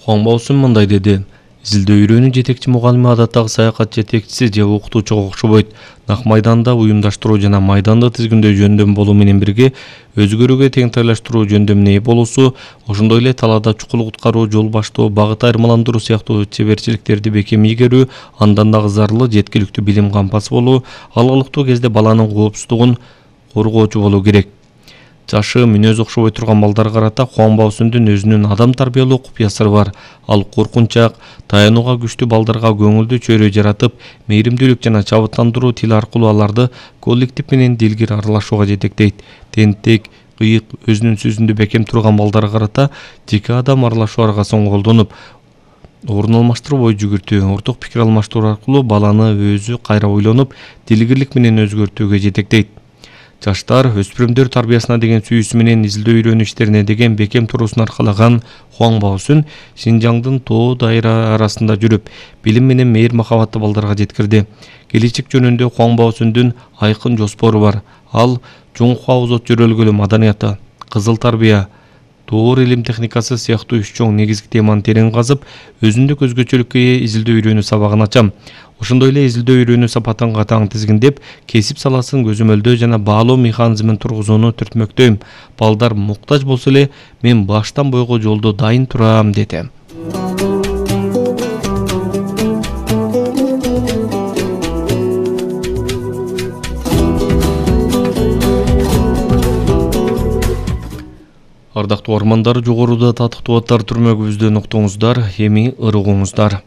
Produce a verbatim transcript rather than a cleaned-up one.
Хуан Баосун мындай деди. Изилдөө үйрөнүү жетекчи мугалими адаттагы саякат жетекчиси же окутуучуга окшобойт. Нак майданда уюмдаштыруу жана майданды тизгиндөө жөндөм болуу менен бирге өзгөрүүгө теңтайлаштыруу жөндөмүнө ээ болуусу, ошондой эле талаада чукул куткаруу, жол баштоо, багыт айырмаландыруу сыяктуу чеберчиликтерди бекем ийгерүү, андан дагы зарылы жеткиликтүү билим кампасы болуу, алгылыктуу кезде баланын коопсуздугун коргоочу болуу керек. Жашы, мүнөзү окшобой турган балдарга карата Хуан Баосундун өзүнүн адам тарбиялоо купуясыры бар. Ал коркунчак, таянууга күчтүү балдарга көңүлдүү чөйрө жаратып, мээримдүүлүк жана чабыттандыруу тили аркылуу аларды коллектив менен дилгир аралашууга жетектейт. Тенттик, кыйык, өзүнүн сөзүндө бекем турган балдарга карата жеке адам аралашуу аргасын колдонуп, орун алмаштырып ой жүгүртүү, орток пикир алмаштыруу аркылуу баланы өзү кайра ойлонуп, дилгирлик менен өзгөртүүгө жетектейт. Жаштар өспүрүмдөр тарбиясына деген сүйүүсү менен изилдөө үйрөнүү иштерине деген бекем туруусун аркалаган Хуан Баосун Шинжаңдын тоо дайра арасында жүрүп, билим менен мейир махабатты балдарга жеткирди. Келечек жөнүндө Хуан Баосундун айкын жоспору бар. Ал Чуңхуа озот жөрөлгөлү маданияты, кызыл тарбия, тоор илим техникасы сыяктуу үч чоң негизги теманы терең казып, өзүндүк өзгөчөлүккө ээ изилдөө үйрөнүү сабагын ачам. Ошондой эле изилдөө үйрөнүү сапатын катаң тизгиндеп, кесип саласын көзөмөлдөө жана баалоо механизмин тургузууну түртмөктөйм. Балдар муктаж болсо эле, мен баштан бойго жолдо дайын турам, деди. Ардактуу армандар, жогоруда татыктуу аттар түрмөгүбүздөн уктуңуздар, эми ырыгыңыздар.